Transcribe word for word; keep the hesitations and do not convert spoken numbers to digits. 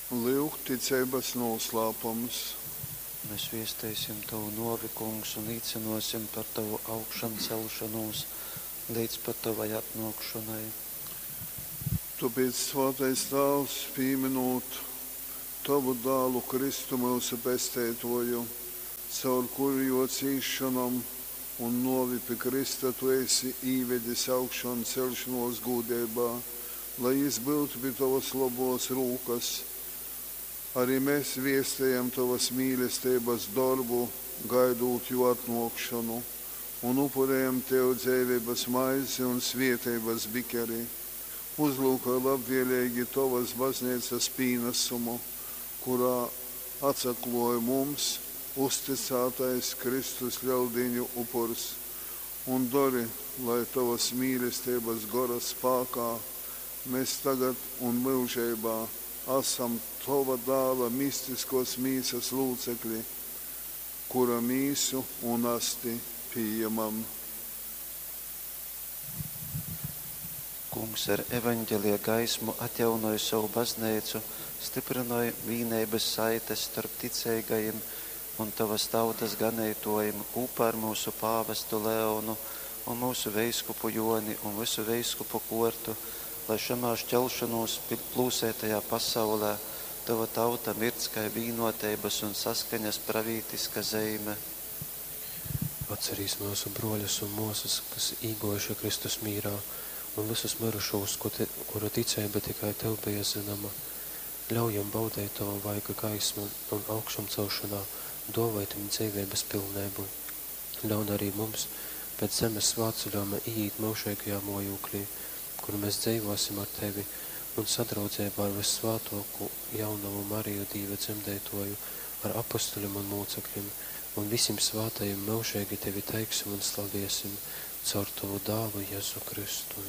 Lyuk ticeibas nūslāpums. Mes viesteisim tovu nōvi, Kungs, un līcynōsim par tovu augšancelšonūs leidz pat tovai atnōkšonai. Tōpēc, svātais Tāvs, pīmynūt tovu Dālu Kristu myusu Pesteitōju, caur kuru jō cīsšonom un nōvi pi krysta tu esi īvedis augšanceļšonōs gūdeibā, lai jys byutu pi tovas lobōs rūkas, ari mes viestejam tovas mīlesteibas dorbu, gaidūt jō atnōkšonu, un upurejam tev dzeiveibas maizi un svēteibas bikeri. Uzlyukoj labvēleigi tovas bazneicas pīnasumu, kurā atsaklōj mums uztycātais Kristus Leldīņu upurs, un dori, lai tovas mīlesteibas Gora spākā mes tagad un myužeibā asam tova Dāla mistiskōs mīsas lūcekli, kura mīsu un asti pījamam. Kungs ar evaņgelija gaismu atjaunoj sovu bazneicu, styprynoj vīneibas saites storp ticeigajim un tovas tautas ganeitōjim kūpā ar myusu pāvestu Leonu un myusu veiskupu Jōni un vysu veiskupu kōrtu, lai šamā šķelšonūs plūseitajā pasaulē tova tauta mirdz kai vīnoteibas un saskaņas pravītiska zeime. Atcerīs myusu brōļus un mōsas, kas īgōjuši Kristus mīrā, un vysus myrušūs, kuru ticeiba tikai tev beja zynoma. Ļauj jim baudeit tova vaiga gaismu un augšamcelšonā dōvoj tim dzeiveibas pilneibu. Ļaun arī mums pēc zemes svātceļōjuma īīt myužeigajā mōjūklī, kur mēs dzeivōsim ar tevi un sadraudzeibā ar vyssvātōkū jaunovu Mariju Dīva dzemdeitōju, ar apostuļim un mūcekļim un visim svātajim myužeigi tevi teiksim un slaviesim caur tovu Dālu Jezu Kristu.